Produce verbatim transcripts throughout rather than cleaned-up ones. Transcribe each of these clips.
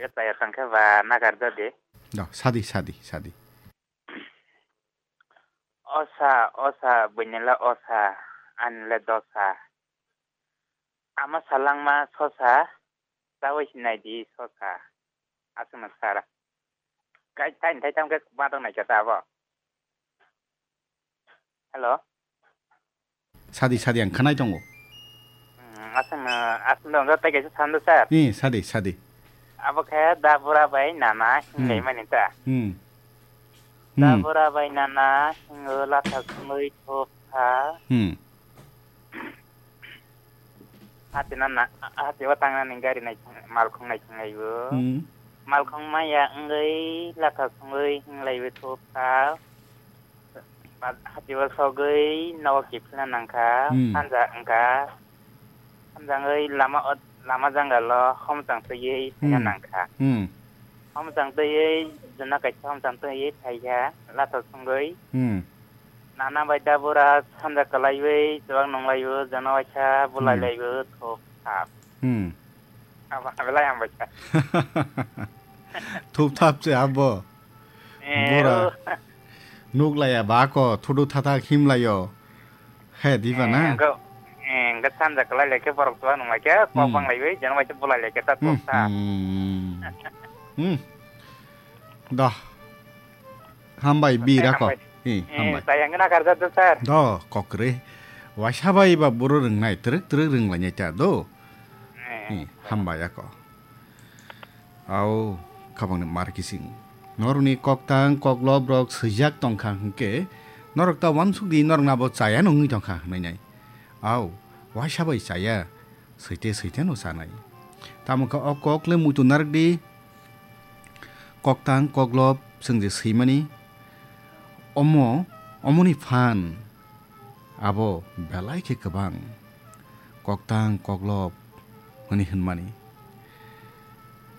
Taya tangkhe ba nagar jodi. Do, sadi, sadi, sadi. Osa, osa, buinila osa, anile dosa. Ama salangma sosa, tawi sinai di sosa. Aswkno sara. Kai, tai, tai, tangkhe badok naikha ta abo. Hello? Sadi, sadi, ang khwnai tongo. Hmm, aswkno, aswkno, tei kaisa sando, sir. Ni, sadi, sadi. Abo khe da bura bai nana Hmm. hinlaimani ta. Hmm. Hmm. Da bura bai nana hingo latha sungwi thopha. Hmm. Hati nana, hati o tangnani gari nai, malkhung nai thanglaibo. Hmm. Malkhung maya wngwi latha sungwi hinglaibo thopha. Ba-, hati o sogwi nogo kiphilna nangkha, Hmm. sanja wngkha. Hamjangwi lama o, lama jangalo homchang twiwi phaina Hmm. nangkha. Hmm. Homchang twiwi jona kaisa homchang twiwi phaikha, latha sungwi. Hmm. Nana bai da bura sanja kwlaiwi chuwak nunglaio, jona waisa bulai Hmm. laio, thop thap. Hmm. Abo, abo lai hambai kha. Thup thap se abo. Eh, Bura. Oh. Nuk laya ba ko, thudu thatha khim layo. He, diba na? Eh, engko, eh, engko sanja kwlai lai khe borok chuwak nung lai khe, kok Hmm. bang lai wi, jana bai khe bulai lai khe ta Hmm, thok ta. Hmm. Hmm. Dah. Hambai, bi Tei rako. Hambai. Eh, Eh, hambai. Tayang na karja do, sir. Do, kokre. Waisa bai ba buro rwngnai, twrwk twrwk rwnglainai ta do. Eh. Eh, hambai ako. Au, khabangni mar kising. Norokni koktang, koklop rok swijak tongkha hwnkhe, norok ta uansuk di, norok nabo chaya no wngwi tongkha hwnwi nai. Au, waisa bai chaya, swite swite no chanai. Tamo khe o kok le muitu narwk di, koktang, koklop, chwng je swimani, omo, omoni phan. Abo belai khe kwbang koktang koklop hwnwi hwnmani.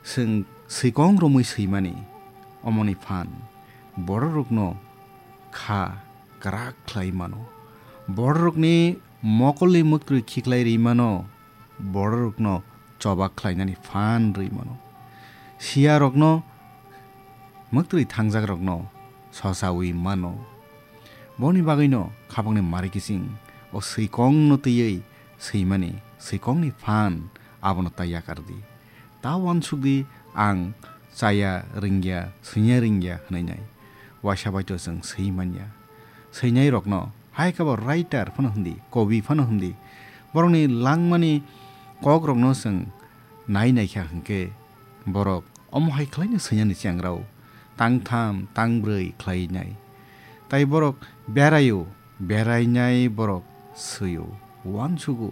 Chwng swikong romwi swimani omoni phan bororokno kha kwrak khlai mano, bororokni mokolni mwktwi khiklai ri mano. Bororokno choba khlainani phan rwi mano. Siyarokno, mwktwi thangjakrokno sosawi mano. Boni bagwino khabangni mari kiching o swikongno twiwi swimani, swikongni phan abono ta yakar di. Ta uansuk di ang chaya ringya, swinya ringya hwnwi nai. Waisa bai to chwng swi manya. Swinai rokno hai khe bo writer phano hwndi, kobi phano hwndi. Borokni langmani kokrokno chwng nai naikha hwnkhe borok omo hai khlaino swinani chengrao tangtham, tangbrwi khlai nai. Tai borok beraio, berainai borok swio, uansugo.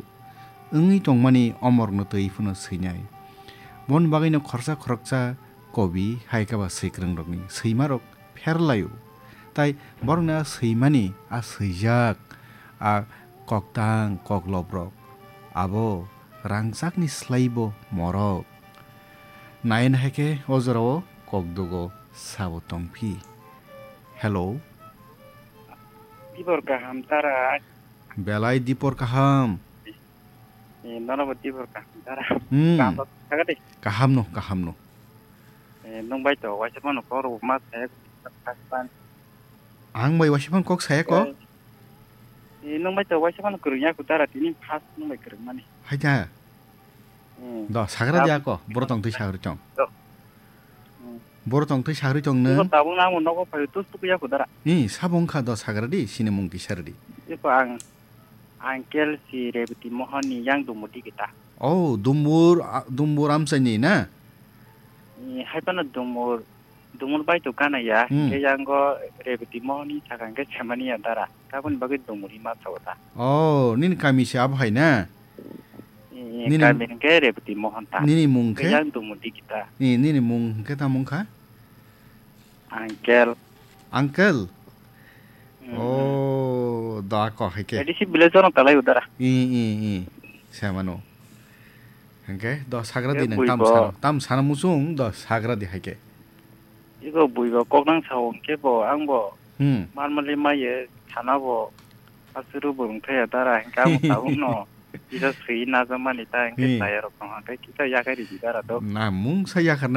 Wngwi tongmani omorokno twi phano swinai. Boni bagwino khoroksa khoroksa kobi hai khe ba swikwrwngrokni swimarok pherlaio. Tai borokni a swimani, a swijak, a koktang kokloprok, abo rangchakni slaibo morok. Naina hai khe o jorao kokdugo sabo tongphi. Hello. Dipor kaham tara. Belai dipor kaham. Eh, nono bo dipor kaham tara. Hmm. Kaham tara de. Kaham no, kaham no. Eh, nung bai to waisa phano kok rwma saya. Ang bai waisa phano kok saya ko? Eh, eh, nung bai to waisa phano kwrwngya ko tara tini first nung bai kwrwngmani. Hai da. Hmm. Do, sagra dia ko, boro tong twi sagri tong. Do. Hmm. Boro tong twi sagri tong nung. Iko tabuk nang mo nogo phai tus tuk ya ko dara. Ni, sabo wngkha do sagra di, sini mung kisa rwdi. Iko ang, Uncle si Rebati Mohan ni yang Dumudi kita. Oh, Dumbur, a, Dumbur Amchai ni na? Ni, hai phano Dumbur, Dumbur bai to kana ya, Hmm. Ke yang go Rebati Mohan ni thakang ke semani ya dara. Kabun bagwi Dumuri ma chawta. Oh, nini kami se abo hai na? Ni, ni Nini kami hwnkhe Rebati Mohan ta. Nini mung khe? Yang Dumudi kita. Ni, nini mung hwnkhe tamo wngkha? Uncle. Uncle? Mm. Oh, da ko hai khe. A D C village ono talai udara. I, i, i. Samano. Hwnkhe do sagra di nang tam sano. Tam sano muchung do sagra di hai khe. Iko bui bo kok nang sao hwnkhe bo, ang bo Hmm. Marmali maye thana bo asuru bo wngthaya dara hwnkhe abo tabukno kisa swi najamani ta hwnkhe Hmm. Chaya rok tong hwnkhe kisa yakhai ridi dara do. Na mungsa yakhar